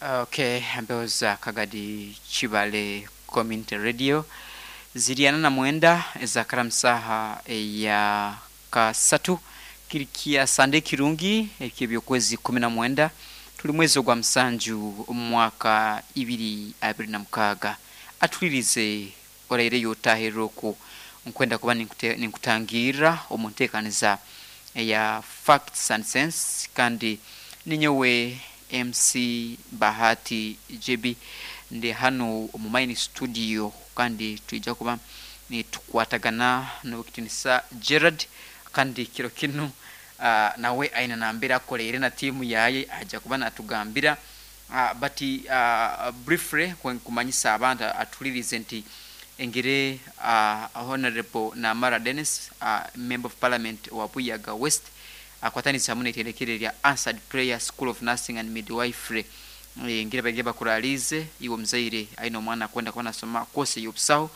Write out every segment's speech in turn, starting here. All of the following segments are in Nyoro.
Okay, mbeho za Kagadi Kibale Community Radio ziriana na mwenda ezakara musaha eya kasatu kiri kya Sande kirungi ekyebyokwezi 19 tuli mwezi ogwa musanju omwaka 2026. Atulirize oraireyo otahirra oku nkwenda kuba ninkutangirra omu nteekaniza eya Facts and Sense, kandi ninyowe MC Bahati JB ndi hanu omu main studio, kandi twija kuba nitukwatagana n'owekitinisa Gerard. Kandi kiro kinu nawe aine nambere akoleire na tiimu yaye, aja kuba natugambira. But briefly nkumanyisa abantu atulirize nti engere Honorable Namara Dennis, Member of Parliament wa Buyaga West, akwatanisa hamu n'itendekero lya Answered Prayer School of Nursing and Midwifery, ngire baige bakuralize iwe omuzaire aine omwana akwenda kuba nasoma course ey'obusaho,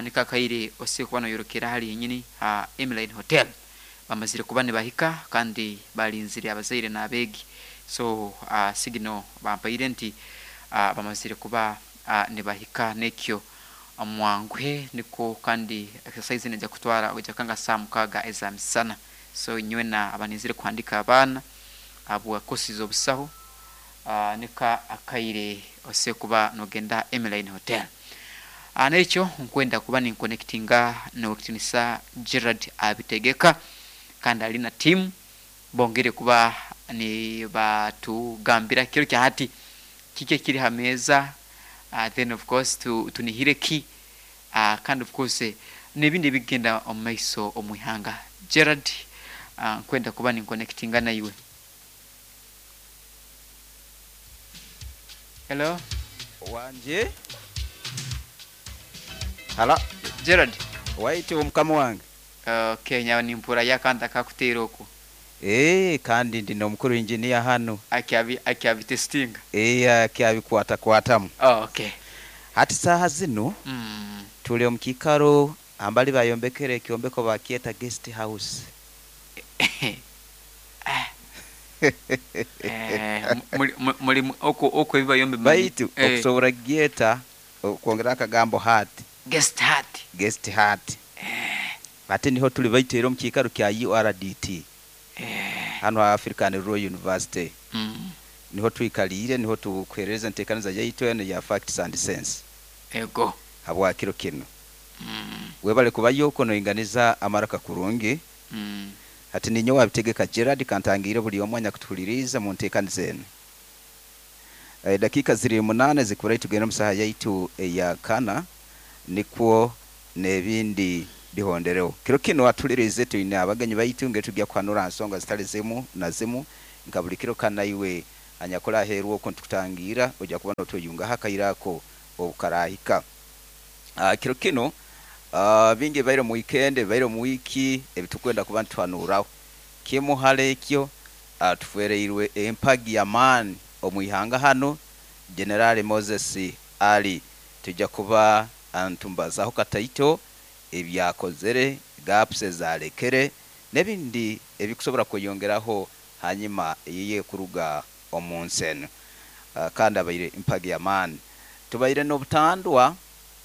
nikakaire ose kuba noyorokera hali yenyini ha Emline Hotel. Bamazire kuba nibahika kandi balinzire abazaire n'abeegi, so signal bampaire nti bamazire kuba nibahika, nekyo mwanguhe niko. Kandi exercise neija kutwara oija kanga saa 6 eza misana. So inywena abanizire kuhandika abaana habwa kosi z'obusaho, nika akaire ose kuba nogenda Emline Hotel. Nekyo nkwenda kuba ninkonectinga n'owekitinisa Gerard abitegeka, kandi ali na tiimu bongere kuba nibatugambira kiro kya hati kiki ekiri ha meeza, then of course tunihire ki, kandi of course n'ebindi ebigenda omu maiso omu ihanga. Gerard, nkwenda kuba ninkonectinga naiwe. Hello. Wanje hala. Gerard. Waite omukama wange. Okay, nyawe nimpura yakanta akakuteera oku. Kandi ndi n'omukuru engineer hano. Akyabitestinga. Akyabikwatakwatamu. Oh, okay. Hati saaha zinu tuli omu kiikaro ambali bayombekere ekyombeko bakyeta guest house. Muli oku ebibayombe. Baitu okusobora kugyeta okwongera akagambo hat. Guest hat. Guest hat. Ate niho tuli baitu era omu kiikaro kya URDT. Hano ha African Rural University. Niho twikaliire, niho tukuhereza enteekaniza yaitu eno ya Facts and Sense. Ego. Habwa kiro kinu. Webale kubayo okwo noinganiza amaraka kurungi. Hati ninyowe wabitegeka Gerard kantangiire buli omwe anyakutuhuliriize mu nteekaniza enu. Dakiika ziri 8 zikubura tugenda omu saaha yaitu eya kana, nikwo n'ebindi bihondereho. Kiro kinu atuliriize twine abagenyi baitu ngeri tujya kuhanura nsonga zitali zimu na zimu nka buli kiro kana iwe anyakora aheeru okwo nitukutangiira ojja kuba notweyungaho akaire ako obukarahika. Kiro kinu bingi bibaire omu weekend, bibaire omu wiiki ebitukwenda kuba nituhanuraho. Kimu hali ekyo, tufereirwe empagi y'amaani omu ihanga hano, General Moses Ali. Tujja kuba ntumbazaho kataito ebyakozere, gaps ezalekere n'ebindi ebikusobora kweyongeraho hanyuma yiye kuruga omu nsi enu. Kandi abaire empagi y'amaani. Tubaire n'obutandwa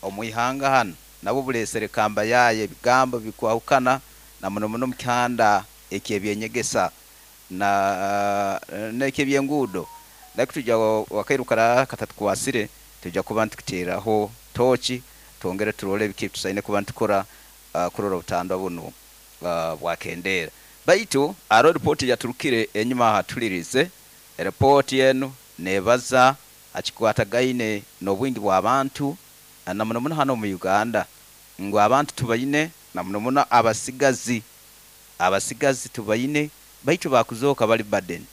omu ihanga hano, nabwo bulesere kamba yayo ebigambo bikwahukana na muno muno omu kihanda eky'ebyenyegesa na n'eky'ebyenguudo. Naki tujja wakairu kara katatukwasire, tujja kuba nitukuteeraho tooki twongere turole biki tusaine kuba nitukora kurora obutandwa bunu bwakendeera. Baitu hariho ripooti yaturukire enyuma aha tulirize. Ripooti enu nebaza hakikwatagaine n'obwingi bw'abantu na muno muno hano omu Uganda, ngu abantu tubaine na muno muno abasigazi, abasigazi tubaine baitu bakuzooka bali burden,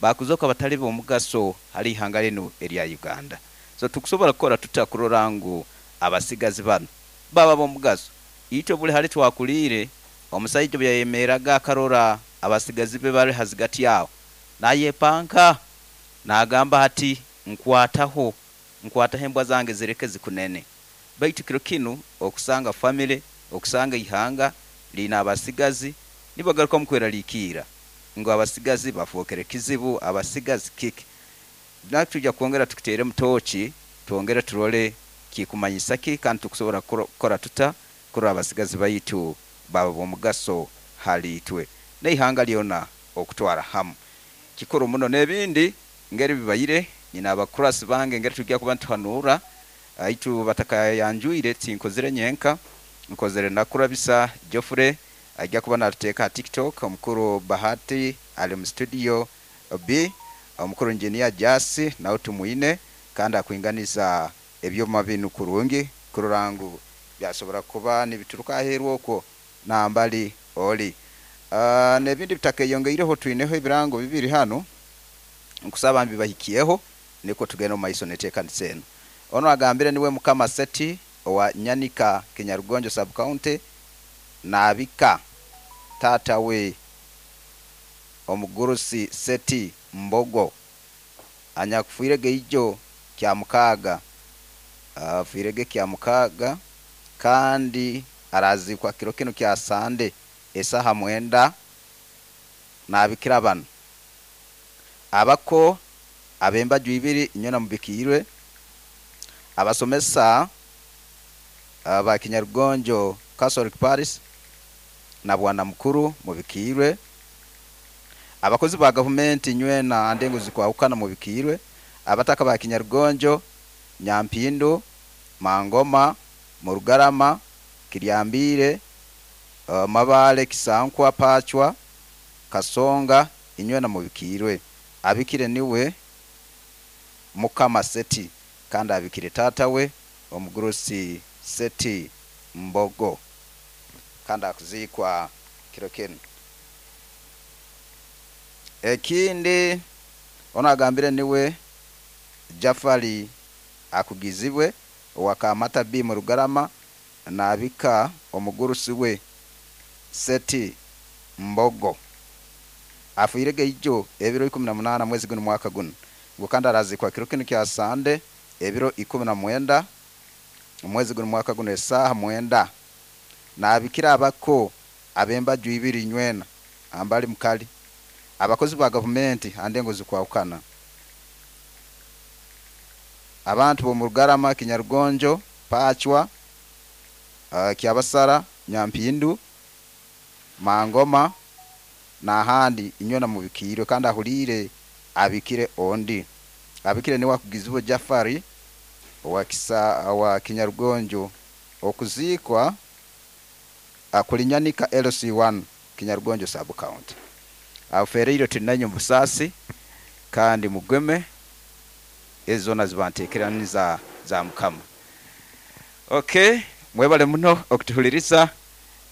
bakuzooka batali b'omugaso hali ihanga linu erya Uganda. So tukusobora kukora tuta kurora ngu abasigazi bano baba b'omugaso? Itwe buli hali twakuliire, omusaija obu yayemerraga akarora abasigazi be bali hazigati aho, nayepanka nagamba ati nkwataho, nkwataho embwa zange zireke zikunene. Baitu kiro kinu okusanga family, okusanga ihanga liine abasigazi nibagaruka omu kweraliikirra ngu abasigazi bafookere kizibu, abasigazi kiki. Natujja kwongera tukuteere mutoki, twongere turole kikumanyisa ki kandi tukusobora kukora tuta kurora abasigazi baitu baba b'omugaso hali itwe n'eihanga lyona okutwara hamu. Kikuru muno n'ebindi ngeri bibaire nyina abakurasi bange ngeri tujja kuba nituhanura aitu batakayanjwire. Tinkozire nyenka, nkozere nakurabisa Geoffrey ajja kuba natuteeka ha TikTok, omukuru Bahati ali mu studio B, omukuru engineer Jasi nawe tumwine kandi akwinganiza ebyoma binu kurungi kurora ngu byasobora kuba nibituruka aheeru okwo nambali oli. N'ebindi bitakeyongeireho, twineho ebirango bibiri hanu, nkusaba mbibahikyeho nikwo tugende omu maiso neteekanisa enu. Ono agambire niwe Mukama Seti owa Nyanika, Kinyarugonjo sub county, naabika taata we omugurusi Seti Mbogo anyakufiirege ijo kya mukaaga, afiirege kya mukaaga kandi araziikwa kiro kinu kya Sande esaha 9. Naabikira banu abako ab'embaju ibiri inywena mubikiirwe, abasomesa ba Kinyarugonjo Catholic Parish na bwana mukuru mubikiirwe, abakozi ba gavumenti nywena andengo zikwahukana mubikiirwe, abataka ba Kinyarugonjo, Nyampindu, Mangoma, Murugarama, Kiryambiire, Mabale, Kisankwa, Pachwa, Kasonga inywena mubikiirwe. Abikire niwe Mukama Seti kandi abikire taata we omugurusi Seti Mbogo kandi akuziikwa kiro kinu. Ekindi ono agambire niwe Jafari akugizibwe owa Kamata B Murugarama, naabika omugurusi we Seti Mbogo afiirege ijo ebiro 18 mwezi guno mwaka guno, ngu kandi araziikwa kiro kinu kya Sande ebiro 19 omwezi guno mwaka guno esaaha 9. Naabikira abako ab'embaju ibiri nywena ambali mukali, abakozi ba gavumenti andengo zikwahukana, abantu b'omu Rugarama, Kinyarugonjo, Pachwa, Kyabasara, Nyampindu, Mangoma n'ahandi inywena mubikiirwe. Kandi ahuliire abikire ondi abikire niwe akugizibwe Jafari owa Kinyarugonjo, okuziikwa akulinyanika LC1 Kinyarugonjo sub county. Afereire tulinanyo mubusaasi kandi mugeme ezo zona zibanteekeraniza za Mukama. Okay, mwebale muno okutuhuliriza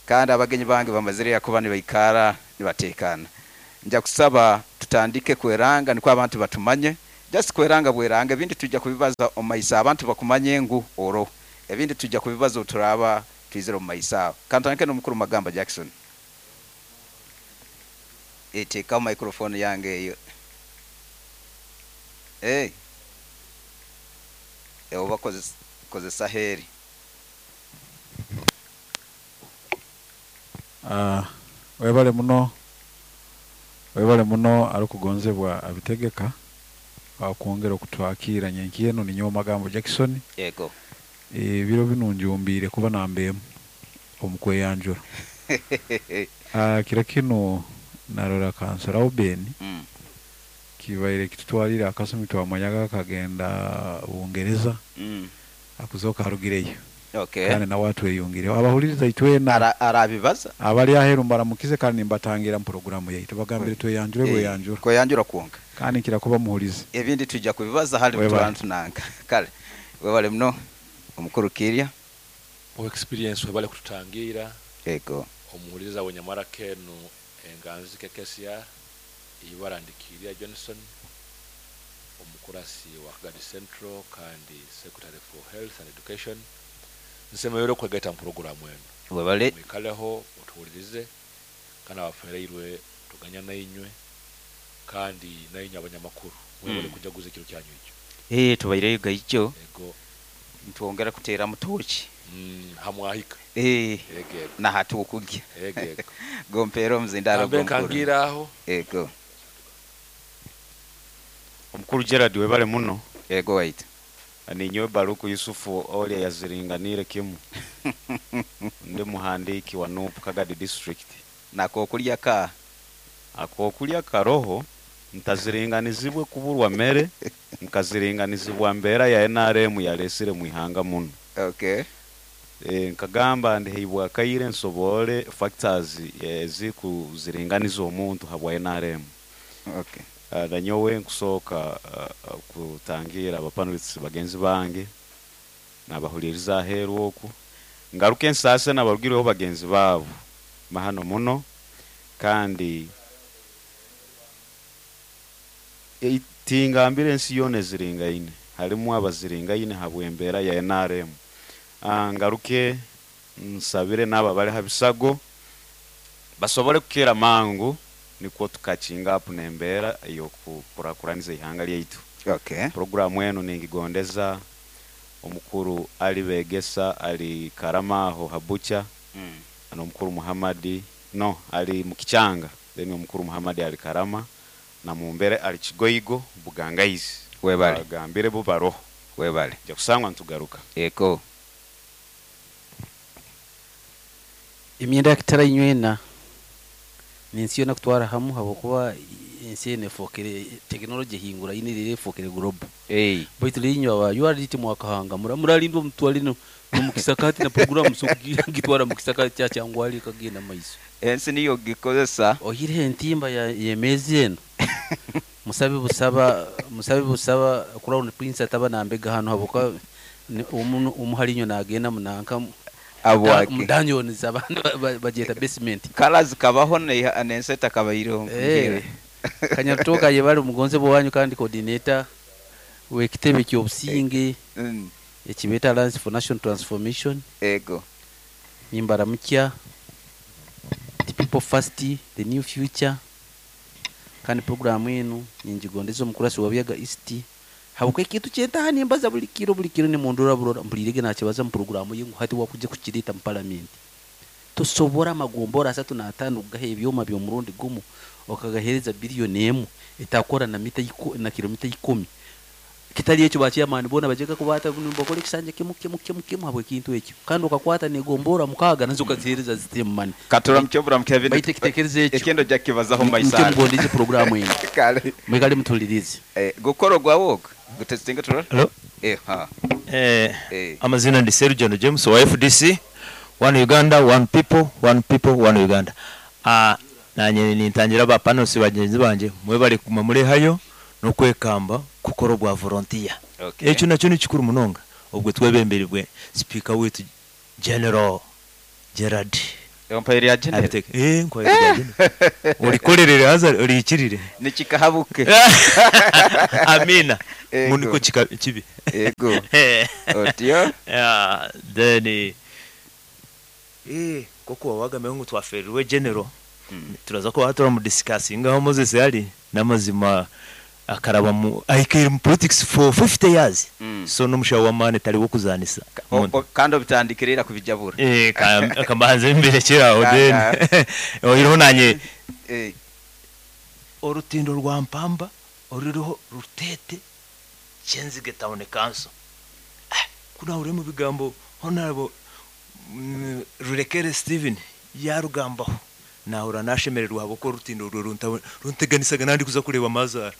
kandi abagenyi bange bamazire yakuba nibaikara nibateekana. Nja kusaba tutandike kweranga nikwo abantu batumanye, just kweranga bweranga, ebindi tujja kubibaza omu maiso abantu bakumanye ngu oro, ebindi tujja kubibaza oturaba twizire omu maiso aho. Kantandike n'omukuru Magamba Jackson. Eteekaho microphone yange eyo. Hey. Oba kozesa heeri. Webale muno, webale muno arikugonzebwa abitegeka akwongera okutwakira nyenki eno. Ninyowe Magambo Jackson. Yego. Ebiro binu njumbiire kuba nambemu omu kweyanjura. Kiro kinu narora kansora Oben kibaire kitutwalire akasumi, twamanyaga akagenda Bungereza akuzoka arugireyo. Kandi nawe atweyungireho abahuliriza itwena. Arabibaza. Abali aheru mbaramukize kandi nimbatangira mu porogaramu yaitu, bagambire tweyanjure bweyanjura. Kweyanjura kwonka. Kandi nkira kuba muhulizi. Ebindi tujja kubibaza hali. Webale. Turantunanka kale webale muno omukuru Kirya. Mu experience webale kututangira. Yego. Omuhuliriza wenyamara kenu enganzi KKCR ibara ndikirya Johnson, omukurasi wa Kagadi Central kandi Secretary for Health and Education. Nsemereire okwegaita mu poroguramu eno. Webale. Mwikaleho otuwulirize kandi abafereirwe tuganya nainywe kandi nainywe abanyamakuru mwebale kujaguza ekiro kyanyu ekyo. Tubaireyo gaijo. Ego. Ntwongera kuteera mutoki. Hamwahika. Ego ego. Nahatukugya. Ego ego. Gompeera omuzindaro. Ambe gomukuru. nkangira aho. Ego. Omukuru Gerald, webale muno. Ego waitu. Ninyowe Baruku Yusufu oli yaziringaniire kimu, ndi muhandiki wa NUP Kagadi district. Nakokulya ka? Akokulya karoho, ntaziringanizibwe kuburwa mere, nkaziringanizibwa mbeera ya NRM yalesire mwihanga muno. Nkagamba ndiheibwa akaire nsobole factors ezikuziringaniza omuntu habwa NRM. Nanyowe nkusooka kutangira abapanelists bagenzi bange nabahuliriza aheeru oku, ngaruke ensase nabarugireho bagenzi baabo mahano muno, kandi tingambire ensi yoona eziringaine, harimu abaziringaine habw'embeera ya NRM. Ngaruke nsabire n'abo abali ha bisago basobole kukira mangu, nikwo tukakinga apu n'embeera ey'okukurakuraniza ihanga lyaitu. Programu eno ningigondeza omukuru Ali Begesa ali Karama aho Habucha, n'omukuru Muhammadi no ali Mukichanga, then omukuru Muhammadi ali Karama na Mumbere ali Kigoigo Bugangaizi. Webale. Bagambire bo baroho. Webale. Nja kusangwa ntugaruka. Eko. Emyenda yakitara inywena nensi yona kutwara hamu, habwokuba ensi eno efokere tekinologi ehingura ine rero efokere global. Baitu rinywa aba URDT mwakahanga muralindwa mutwale no mukisakati na program so gitwara mukisakati kya kyangwali kagenda maiso. Ensi niyo gikozesa. Ohire entimba ya yemezi eno. Musabe busaba, musabe busaba Crown Prince ataba nambega hano habwokuba umuharinyo nagenda munanka Abwake. Mudanyoniza abantu bageta basement. Kalazi kabaho nenseta kabairo. Kanyatoka yebali mugonze bwanyu kandi coordinator wekitebe kyobusinge. Ekibeta Alliance for National Transformation. Ego. Nimbara mukya. The people first, the new future. Kandi program enu ninjigondeza omukurasi wa Byaga East. Habukwe kintu kyetaha nimbaza buli kiro, buli kiro ni mundura burora mpulirege nakibaza mu programu ye hati wakuje kukireta mu parliament. Tosobora amagombora 35 kugaha ebyoma by'omurundi gumu okagahereza biliyoni emu etakora na mita na kilomita 10. Kitali ekyo bachairman bona bajeka kubata bakole kisanja kimu kimu kimu kimu habwe kintu ekyo. Kandi okakwata negombora mukaga nazo kazihereza system money. Katura mchobura mkevin. Baite kitekereze ekyo. Ekendo jakibazaho maisha. Mke mugondeze programu eno. Kale. Mwikale mutulirize. Gukoro gwa wok. Gutestinga turora? Hello. Ha. Amazina ndi Sergio James wa FDC. One Uganda, one people, one people, one Uganda. Nanye nintangira ba panels bagenzi banje mwebale kuma muri hayo no kwekamba kukora bwa volunteer. Ekyo nakyo ni kikuru munonga obwe twebemberebwe speaker wetu General Gerard. Empire ya General. Nko ya General. Olikorerere haza olikirire. Nikikahabuke. Amina. Muniko kibi. Ego. Otyo. Yeah, then koko wawaga ngo twaferwe General. Turaza ko hatora mu discussing aho Moses yari namazima akaraba mu aikiri mu politics for 50 years. So n'umushawo wa mane tari wo kuzanisa. Kandi bitandikirira kubijabura. Akabanze imbere kiraho then. Oyiroho nanye. Orutindo rwa Mpamba oruriho rutete Kyenzige Town Council. Kuna uri mu bigambo honorable Rurekere Steven yarugambaho. Nahura nashemererwa habo ko rutindo runteganisaga nandi kuza kureba amazara.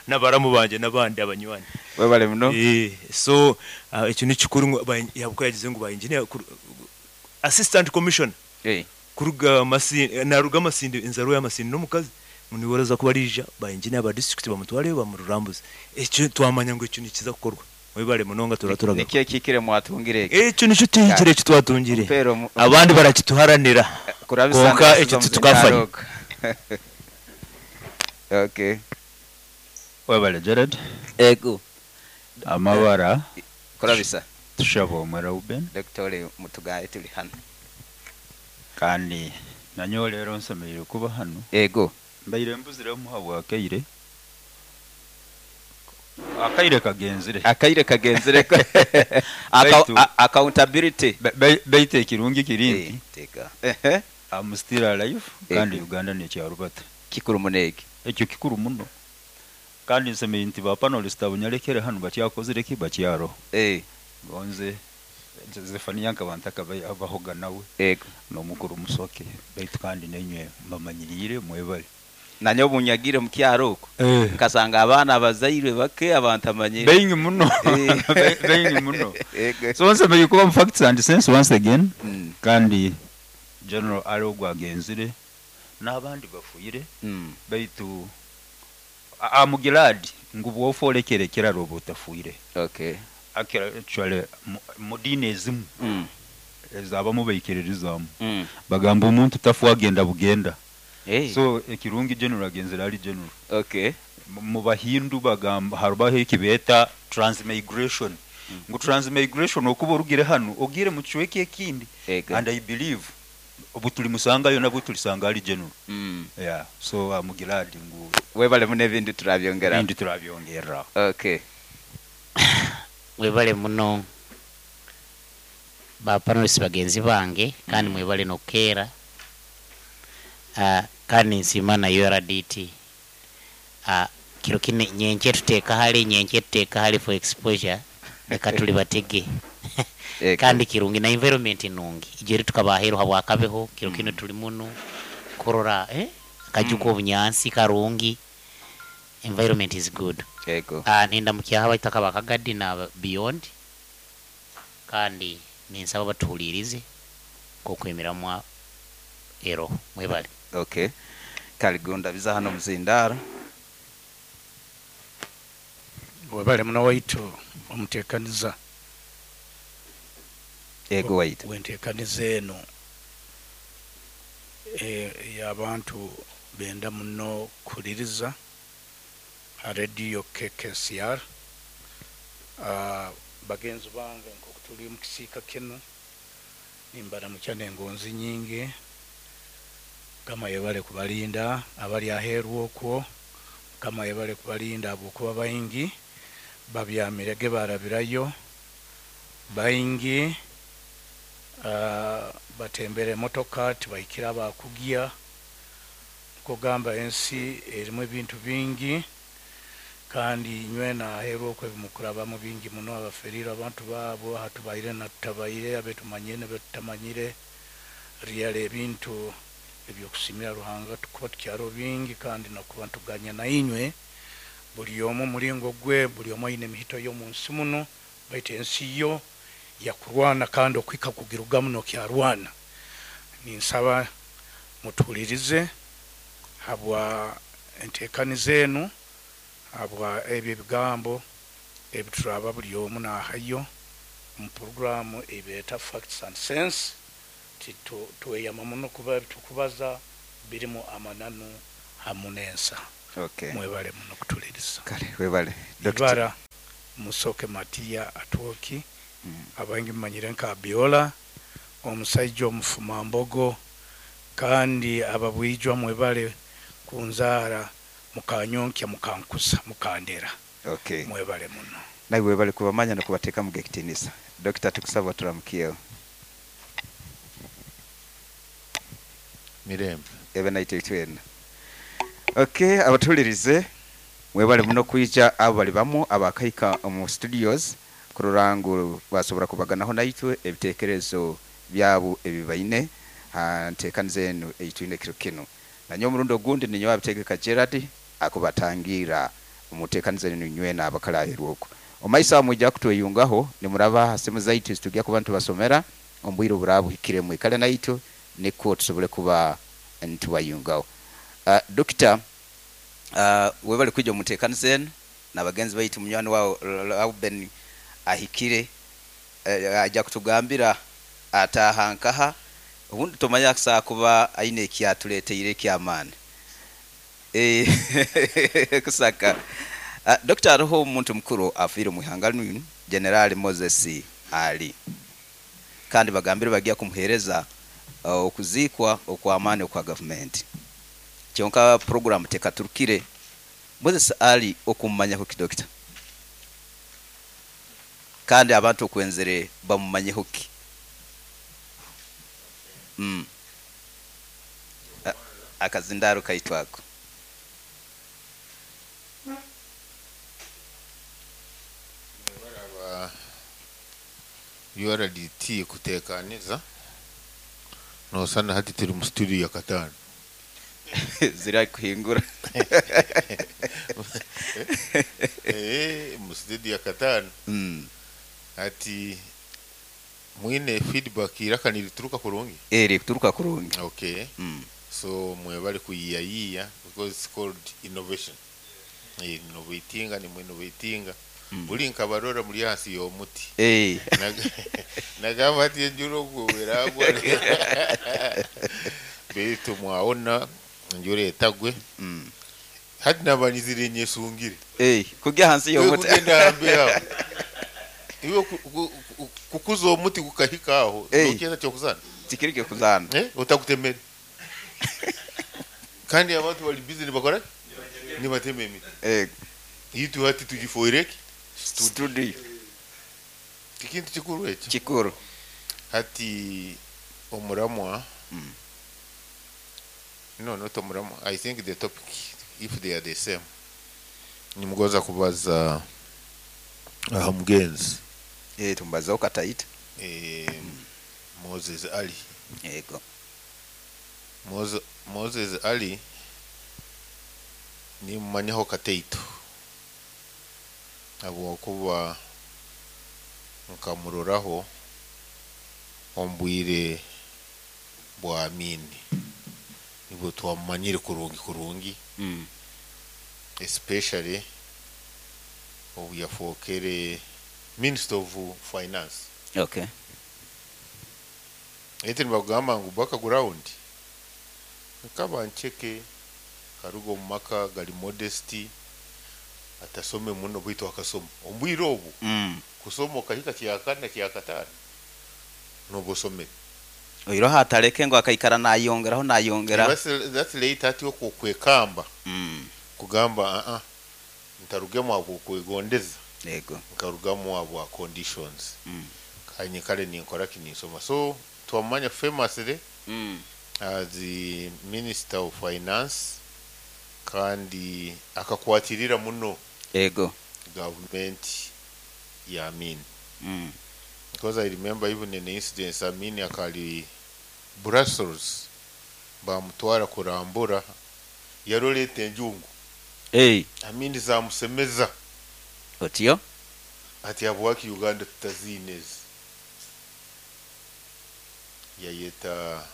N'abaramu banje n'abandi abanywani. Webale muno. So icyo ni kikuru yabuko yagize ngo ba engineer assistant commissioner. Kuruga masindi naruga masindi inzaro y'amasindi no mukazi muniwaraza kuba rija ba engineer ba district bamutware bamururambuze. Icyo twamanya ngo icyo ni kiza gukorwa. Webale munonga turaturaga. Nikiye kikire mwatungire. Icyo nico tuhigire cyo twatungire. Abandi barakituharanira. Konka icyo tukafanya. Webale Gerard. Ego. Amabara. Kurabisa. Tushabo Reuben. Dr. Mutugaye tuli hano. Kandi nanyo rero nsemereire kuba hano. Ego. Mbaire mbuzire muhabwa akaire. Akaire kagenzire. Akaire kagenzire. Accountability. Baite ekirungi kirindi. Teka. I'm still alive kandi Uganda ni kyarubata. Kikuru munege. Ekyo kikuru muno. Kandi nsemei nti ba panelist abo nyalekere hanu bakyakozire ki bakyaroho. Gonze Zefania nkaba ntakabahoga nawe. N'omukuru Musoke, baitu kandi nainywe mbamanyiriire mwebale. Nanye obu nyagire mu kyaro okwo, nkasanga abaana abazairwe bake abantu amanyire. Baingi muno. Baingi muno. So nsemei kuba mu Facts and Sense once again. Kandi General Ali ogwo agenzire n'abandi bafuire. Baitu I'm glad ngu bwofa olekere ekiraro oba otafuire. Actually mu diini ezimu ezabamu baikiririzaamu bagamba omuntu tafa agenda bugenda. So ekirungi General agenzire ali General. Mu Bahindu bagamba harubaho ekibeeta transmigration. Ngu transmigration okuba orugire hanu ogire mu kicweka ekindi. And I believe obu tulimusangayo nabwo tulisanga ali General. Yeah. So I'm glad ngu webale muno ebindi turabyongera. Ebindi turabyongerra. Mwebale muno ba panelists bagenzi bange, kandi mwebale nokukeera. Kandi nsiima na URDT. Kiro kine nyenkye tuteeka hali, nyenkye tuteeka hali for exposure, leka tuli batege. Kandi kirungi na environment nungi. Ijeri tukabaheru habwakabeho, kiro kino tuli muno kurora, kajuko obunyansi karungi. Environment is good. Ninda mukyaha baitaka bakagadi na beyond. Kandi ninsaba batuhulirize kokwemiramwa ero mwebale. Kaligunda biza hano muzindara. Webale muno waitu omutekaniza. Ego waitu. Wentekaniza eno y'abantu benda muno kuhuliriza radio KKCR. Bagenzi bange nkoku tuli mu kisiika kino nimbaramukya n'engonzi nyingi. Mukama yebale kubalinda abali aheeru okwo. Mukama yebale kubalinda ahabwokuba baingi babyamirege barabirayo, baingi batembera emotoka tibaikira bakugya. Nkogamba ensi erimu ebintu bingi, kandi nywena aheeru okwo ebimukurabamu bingi muno, abaferire abantu baabo hatubaire na tutabaire, abetumanyire nebetutamanyire. Ryala ebintu ebyokusimira Ruhanga tukuba tukyaro bingi, kandi nakuba ntuganya na inywe buli omu mulingo gwe, buli omu aine emihito y'omu nsi muno, baitu ensi yo yakurwana kandi okwika kugirugamu nokyarwana. Ninsaba mutuhulirize habwa enteekaniza enu, habwa ebyo ebigambo ebituraba buli omu nahayo mu programu ebeeta Facts and Sense. Tweyama muno kuba ebitukubaza birimu amananu hamu n'ensa. Mwebale muno kutuliriza. Kale, webale. Ibara Musoke Matia Atwoki, abangi mumanyire nka Abiola, omusaija omufumambogo, kandi ababwijwa mwebale kunzaara mukanyonkya mukankusa mukandera. Mwebale muno. Nawe webale kubamanya nokubateeka mu gekitinisa. Dokita tukusaba turamukiyeho. Mirembe. Ebe naitwe twena. Abatulirize mwebale muno kwija abo bali bamu abakaika mu studios kurora ngu basobora kubaganaho naitwe ebitekerezo byabo ebibaine nteekaniza enu eitwine kiro kino. Nanyo omurundi ogundi ninyo abitegeka Gerard akubatangira omuteekaniza enu nywena abakalaherwa okwo. Omaisa mwijja kutweyungaho nimuraba ha simu zaitu zitujja kuba ntubasomera ombwire oburabuhikire mwikale naitwe nikwo tusobole kuba ntubayungaho. Dokita, webale kwija omuteekaniza enu n'abagenzi baitu munywani wawe Reuben ahikire, ajja kutugambira ataaha nkaha obundi tomanya akusobola kuba aine ekyatuleeteire eky'amaani. Kusaka. Dokita, hariho omuntu mukuru afiire omu ihanga linu, General Moses Ali, kandi bagambire bagiya kumuheereza okuziikwa okw'amaani okwa gavumenti. Kyonka program tekaturukire. Moses Ali okumumanyaho ki, Dokita? Kandi abantu okwenzere bamumanyeho ki? Akazindaro kaitu ako. URDT kutekaniza nosana hati turi mu studio ya katano. Zira kuhingura. Mu studio ya katano. Ati mwine feedback iraka nilituruka kurungi. Rituruka kurungi. Okay. So mwebale kuyiyayiya because it's called innovation. Innovatinga ni mwinnovatinga. Buli nkabarora muri hasi y'omuti. Nagamba ati enjura ogweragwa. Beitu mwaona enjura etagwe. Hati nabanyizire nyesungire. Kujya hansi y'omuti. Kugenda hambe aho. Iwe kukuza omuti gukahika aho. Nokiza cyo kuzana. Tikirike kuzana. Utakutemere. Kandi abantu bali busy nibakora? Nibateme emiti. Itu hati tujifoireki studio. Tikintu kikuru ekyo. Kikuru. Hati omuramwa. No, not omuramwa. I think the topic, if they are the same. Nimugoza kubaza aha mugenzi. Tumbaza ukataita. Moses Ali. Yego. Moses Ali ni mmanyaho kataito. Habwokuba nkamuroraho ombwire bwa Amini. Nibwo twamumanyire kurungi kurungi. Especially obu yafookere Minister of Finance. Okay. Ete nibagamba ngu background nkaba ncheke karugo omu maka gali modesty atasome muno bwitu akasoma ombwire obu. Kusoma okahika kyakana kyakatano nobosome oiro hatareke ngo akaikara nayongeraho nayongera. That's late ati okwekamba. Kugamba ntarugemu abo kwegondeza. Yego. Nkarugamu abo conditions. Kanye kale ninkora kinisoma. So twamanya famously as the Minister of Finance kandi akakwatirira muno. Yego. Government ya Amin. Because I remember even in the incidents Amin akali Brussels bamutwara kurambura yaroleta enjungu. Amin zamusemeza. Otiyo? Ati abwaki Uganda tutazinezi. Yayeta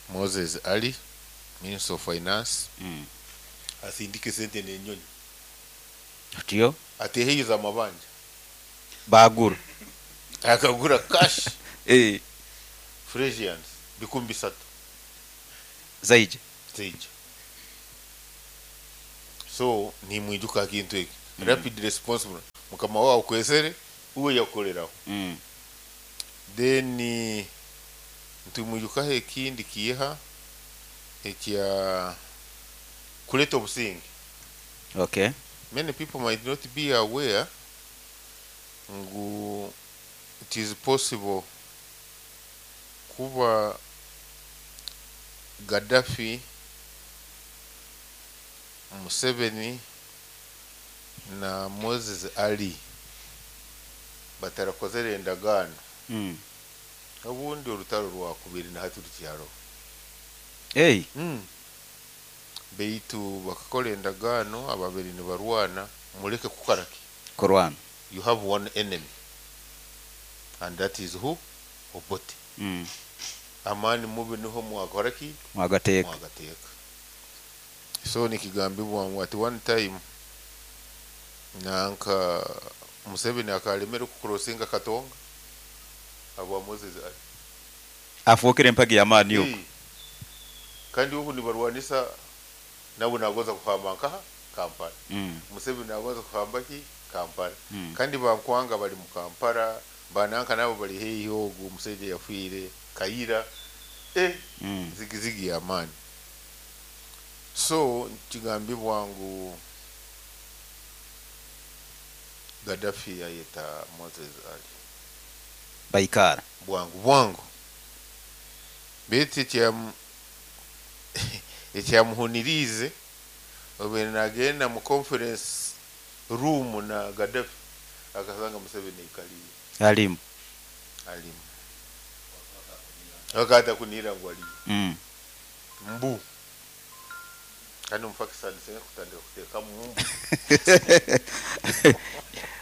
Moses Ali, Minister of Finance. Asindike sente n'enyonyi. Otiyo? Ateheyiza amabanja. Bagura. Akagura cash. Fresians 3,000. Zaije. Zaije. So ni mwijuka kintu eki. Rapid response mukama wao kwesere uwe yakoleraho. Then ntumwijuka ekindi kiha ekya kuleta obusinge. Okay. Many people might not be aware ngu it is possible kuba Gaddafi, Museveni na Moses Ali batarakozere endagaano. Obundi orutaro rwa kubiri na hati rukyaro. Beitu bakakora endagaano ababiri nibarwana muleke kukaraki. Kurwana. You have one enemy. And that is who? Obote. Amani mubi niho mwakoraki? Mwagateka. Mwagateka. So nikigambibwa ngu at one time nanka Museveni akalemera kukurosinga Katonga abwa Moses Ali. Afokere empagi y'amaani yuko. Kandi ubu nibarwanisa nabo nagoza kuhamba nkaha Kampala. Museveni nagoza kuhamba ki Kampala. Kandi bankwanga bali mu Kampala, bananka nabo bali heyi ogu musajja yafiire Kaira. Zigizigi y'amaani. So kigambibwa ngu Gaddafi yayeta Moses Ali. Baikara. Bwangu bwangu. Beti ekyamuhunirize obe nagenda mu conference room na Gaddafi akasanga Museveni ikaliye. Alimu. Alimu akata kunira ngu aliyo. Mbu kandi omupakistani singa kutandika kuteekamu mbu.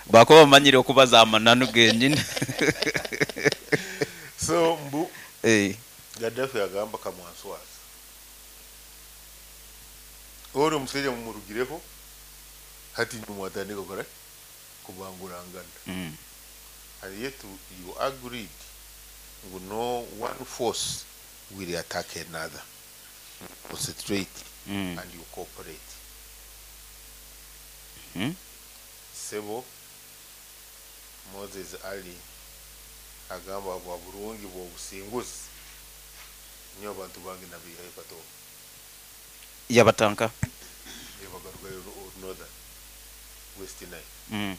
Bakuba bamanyire okubaza amananu genyini. So mbu Gaddafi agamba kamwanswaza ori omusajja mumurugireho hati nimwatandika kukora kubangurangana. And yet you agreed ngu no one force will attack another, concentrate and you cooperate. Sebo Moses Ali agamba bwa burungi bw'obusinguzi niyo abantu bange nabihayo kato. Yabatanka. Yabagarukayo northern West Nile.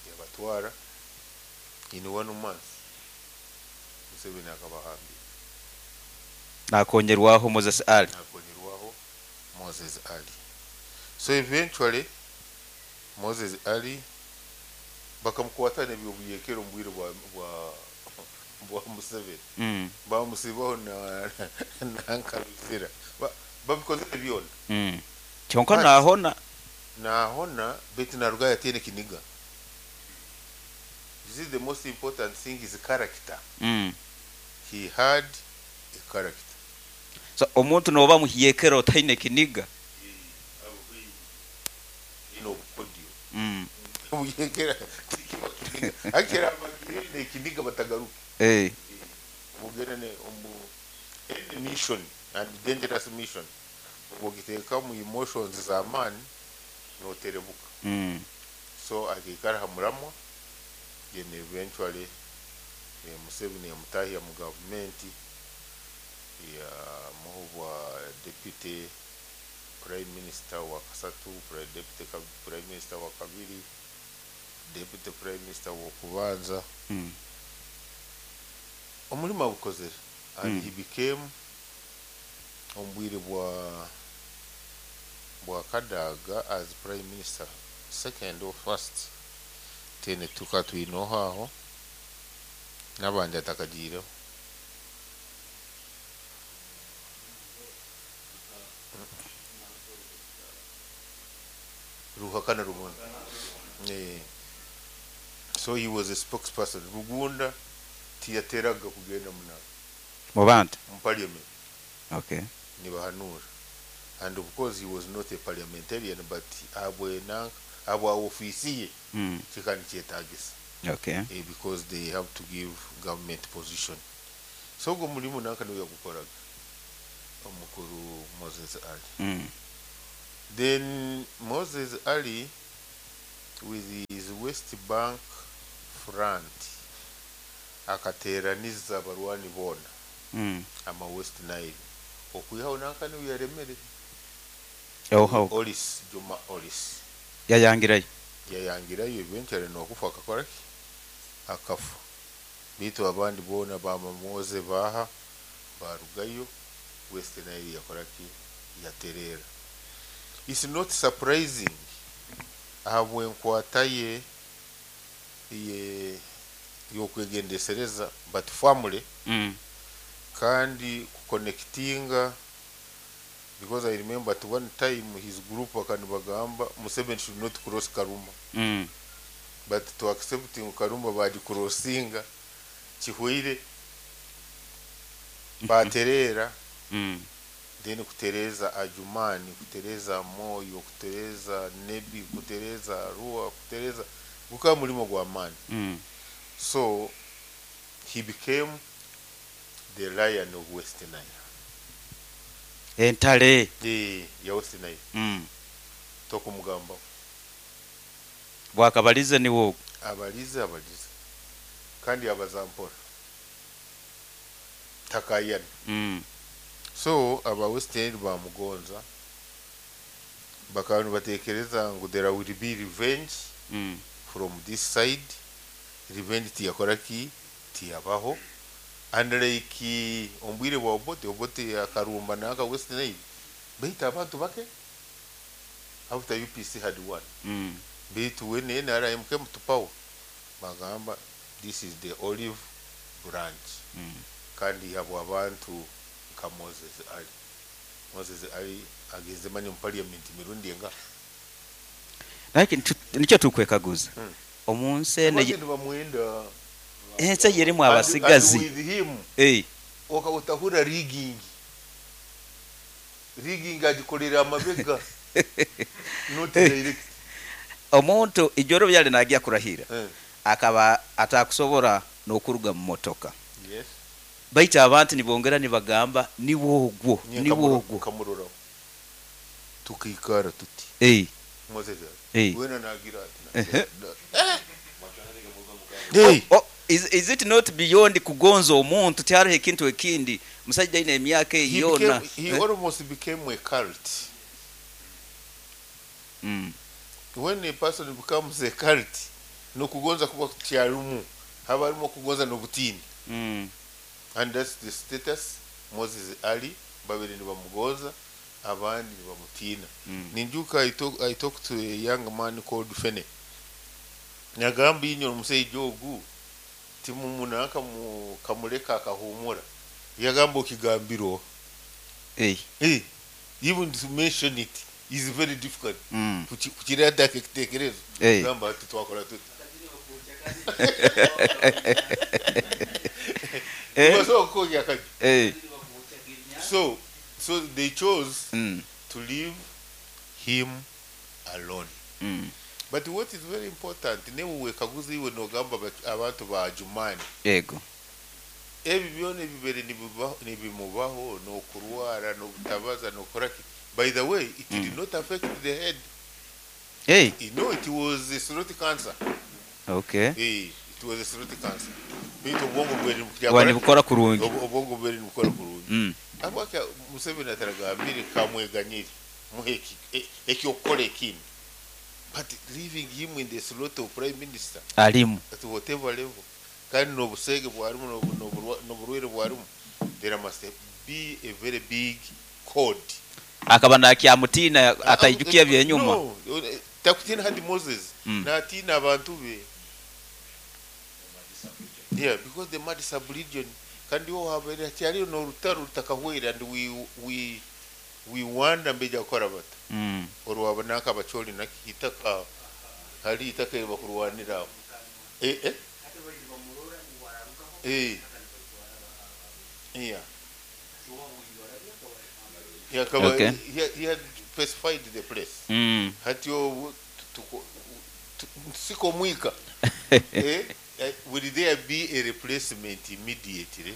Yabatwara in one month Museveni akabahambira. Nakonyerwaho Moses Ali. Nakonyerwaho Moses Ali. So eventually Moses Ali bakamukwata nebyobuyekero omu bwire bwa Museveni. Bamusibaho na nankaruzira babikozere byona. Kyonka nahona. Nahona beti naruga yatene kiniga. This is the most important thing is character. He had a character. So omuntu noba muhiyekero otaine kiniga. No podio. Muyekera akira abagire kiniga batagaruka. Mugere ne omu any mission and dangerous mission. Ogiteka mu emotions za man noterebuka. So akikara hamuramwa then eventually Museveni yamutahya mu government ya muhubwa deputy prime minister wa kasatu, deputy prime minister wa kabiri, deputy prime minister wa kubanza. Omulimo agukozere and he became ombwire bwa Kadaga as prime minister second or first. Tene tuka twinoho aho n'abandi atakagireho. Ruhakana Rugunda. So he was a spokesperson. Rugunda tiyateraga kugenda muna mu bantu mu parliament. Okay. Nibahanura. And of course he was not a parliamentarian but abwe nanka abwa ofisi ye kikani kyetagisa. Okay. Because they have to give government position. So go mulimu nanka niwe yagukoraga omukuru Moses Ali. Then Moses Ali with his West Bank front akateraniza abarwani bona ama West Nile okwihaho nanka niwe yaremere. Olis Juma Olis yayangirayo. Yayangirayo eventually nokufa akakora ki akafa. Bitu abandi bona bamamoze baha barugayo West Nile yakora ki yaterera. It's not surprising ahabwe nkwata ye yokwegendesereza but family kandi kuconnectinga because I remember at one time his group akanibagamba Museveni should not cross Karuma. But to accepting Karuma badi crossinga kihwire baterera. Then kutereza Ajumani, kutereza Moyo, kutereza Nebi, kutereza Arua, kutereza guka mulimo gwa amani. So he became the lion of West Nile. Entale ya West Nile. Tokumugamba bwakabalize niwo abalize kandi abazampora takayana. So aba West Nile bamugonza bakaba batekereza ngo there will be revenge from this side. Revenge tiyakora ki tiyabaho. And like ombwire bwa Obote akarumba naka West Nile baita abantu bake after UPC had won. Bitu we ne NRM came to power bagamba This is the olive branch. Kandi habwa abantu nka Moses Ali. Moses Ali agenze mani mu parliament mirundi enga. Naye nikyo tukwekaguza omu nsi eno Abandi nibamwenda. Ensi eyerimu abasigazi. And with him, okahura rigging. Rigging agikolera amabega. Not direct. Omuntu ijoro byali nagiya kurahira akaba atakusobora n'okuruga mu motoka. Yes. Baita abantu nibongera nibagamba niwogwo niwogwo. Kamurora. Tukikara tuti. Moses. Wena nagira ati. Oh, is it not beyond kugonza omuntu tihariho ekintu ekindi musajja aine emyaka eyona? He almost became a cult. When a person becomes a cult, nokugonza kuba kyarumu haba harimo kugonza n'obutini. And that's the status Moses Ali babiri nibamugonza abandi nibamutina. Ninjuka I talked to a young man called Fene. Nyagamba inyo omusajja ogu timumunaka kamuleka akahumura. Yagamba okigambiro. Even to mention it is very difficult. Kukirada kitekerezo. Gamba ati twakora tuti. So they chose to leave him alone. But what is very important, newe wekaguza iwe nogamba abantu ba Jumani. Yego. Ebi byone bibere nibimubaho no kurwara no kutabaza no koraki. By the way, it did not affect the head. Hey. You know, it was a throat cancer. Okay. Hey, it was a throat cancer. Bito obwongo bweri bukora kurungi. Obwongo bweri bukora kurungi. Abaka Museveni ataragambire kamweganyire muheki ekyokora ekindi. But leaving him in the slot of prime minister alimu at whatever level kandi n'obusege bwarimu n'oburwaire bwarimu, there must be a very big code. Akaba nakyamutina ataijukia byenyuma. No, takutina hadi Moses natina abantu be. Yeah, because the mad sub-region kandi wo habere cyari no rutaro rutakahwera and we wonder mbeja gukora bata. Orwabona akabacholi nakitaka hari itaka bakurwanira. Yeah. Yeah, okay. He had specified the place. Hatio siko mwika. Will there be a replacement immediately?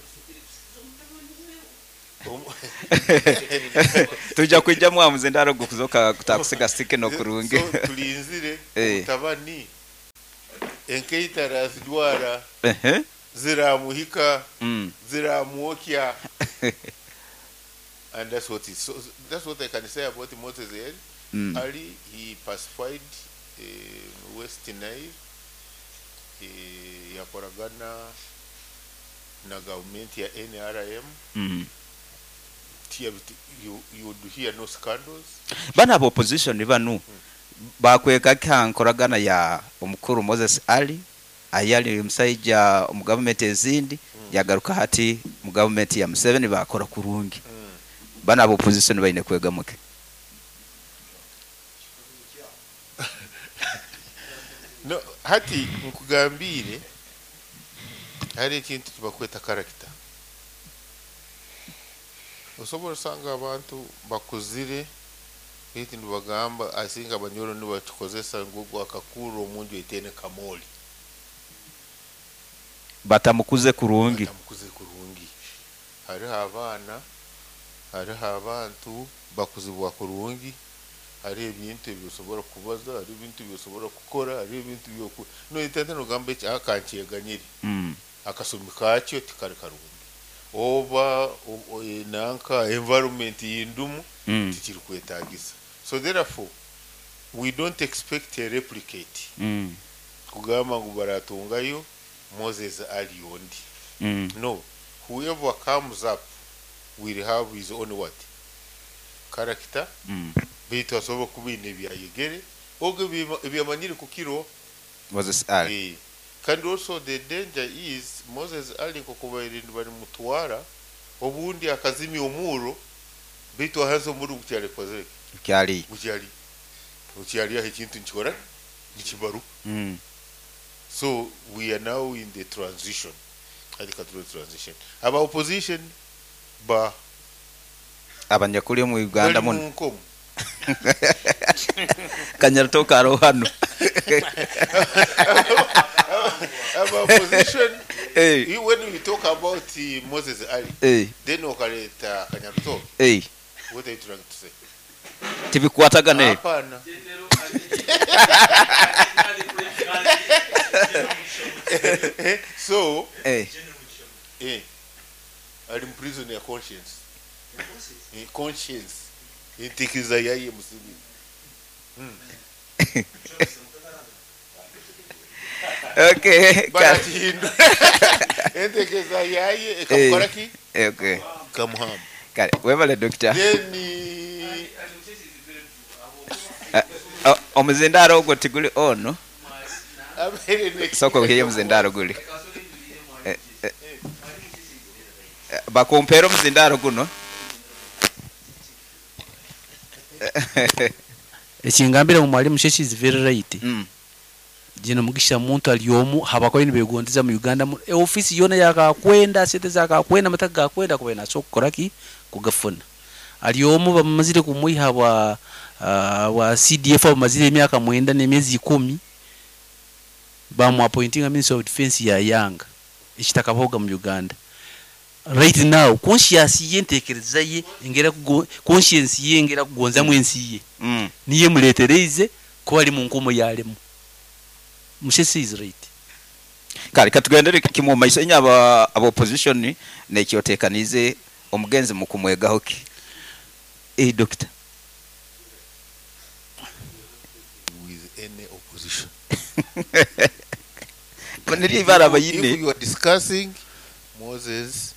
Tuja kwijja mwamuze ndaro gukuzoka kutakusiga stike no kurungi. So tulinzire tabani enkeita razidwara ziramuhika ziramuokya. And that's what it, so that's what I can say about Moses Ali. Ali, he pacified West Nile. Yakoragana na government ya NRM. You would hear no scandals. Bana abo opposition banu bakweka kankoragana ya omukuru Moses Ali ayali omusajja mu government ezindi yagaruka hati mu government ya Museveni bakora kurungi. Bana abo opposition bayine kwegamuke. No, hati nkugambire hari ekintu kibakweta character. Osobola osanga abantu bakuzire eti nibagamba asinga abanyoro nibakikozesa ngu akakuru omunju etene kamoli. Batamukuze kurungi. Batamukuze kurungi. Hariho abaana, hariho abantu bakuzibwa kurungi, hari ebintu ebyosobora kubaza, hari ebintu ebyosobora kukora, hari ebintu byoku. No itente nogamba eki akankyeganyire. Akasumi kakyo tikari karungi. Oba nanka environment yindumu tikiri kwetagisa. So therefore we don't expect a replicate. Kugamba ngu baratungayo Moses Ali ondi. No, whoever comes up will have his own what? Character. Bitu asobola kuba ine byayegere ogo ebyamanyire kukiro Moses Ali. Kandi also the danger is Moses Ali nkokubaire balimutwara obundi akazimya omuro, baitu ahansi omuro gukyali kukozere Gukyali. Gukyali gukyali aho ekintu nikikora nikibaruka. So we are now in the transition, hati katuli transition, aba opposition ba abanyakuli omu Uganda bali muno mu nkomo. Kanyaratoke aroho hano. Aba opposition, Eh. when we talk about Moses Ali, Eh. then okaleta Kanyarutoke, Eh. what are you trying to say? Tibikwatagana. Hapana. So Eh. Ali mu prison ya conscience. Conscience entekereza yaye Museveni. Okay. Barakihindura entekereza yaye ekamukora ki? Okay. Kamuhamba. Kale webale doctor. Then Omuzindaro ogwo tiguli ono. Abeere Soko hiye omuzindaro guli. Bakumpera omuzindaro guno. Ekingambira mu mwalimu Sheshi is very right. Jino Mugisha muntu ali omu habakora nibegondeza mu Uganda mu ofisi yona yakakwenda sente zakakwenda mataka gakwenda kuba naso kukora ki kugafuna ali omu bamazire kumwiha wa wa CDF bamazire emyaka 9 n'emyezi 10 bamu appointing a minister of defense ya Yanga ekitakaboga mu Uganda right now. Conscience ye ntekereza ye engera conscience ye engera kugonza mu ensi ye. Niye muletereize kuba ali mu nkomo yalemu. Mushesi is right. Kale katugendere kimu mu maiso inya aba opposition nekyotekanize omugenzi mu kumwegaho ki? Doctor. With any opposition. Niri ibara bayine. If you are discussing Moses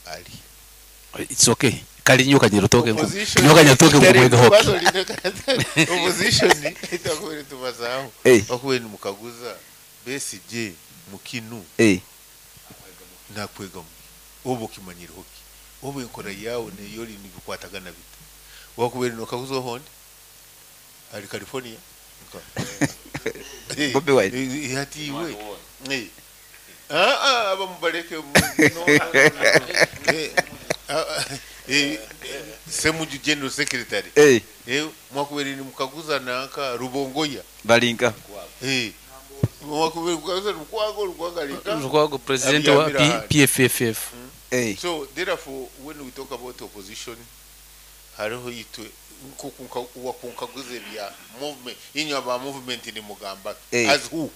Ali, It's okay. Kali nyoka nyirotoke nko. Opposition- Nyoka nyirotoke kumwega hoki. Bazo opposition itakuwa tubazaho. Eh. Bakuwe ni mukaguza Besigye mukinu. Eh. Nakwega obo kimanyiro hoki. Obo enkora yawe ne yoli nibikwatagana bita. Wakuwe ni mukaguza hondi. Ali California. Bobi Wine. Hati iwe. Ah ah abamubaleke no, no, no, no. Semuju General Secretary. Mwakubere ni mukaguza nanka Rubongoya. Balinka. Mwakubere mukaguza Lukwago, Lukwago alika. Lukwago president wa PFFF. So therefore when we talk about opposition hariho itwe wakunkaguza bya movement inyo aba movement ni mugamba as who?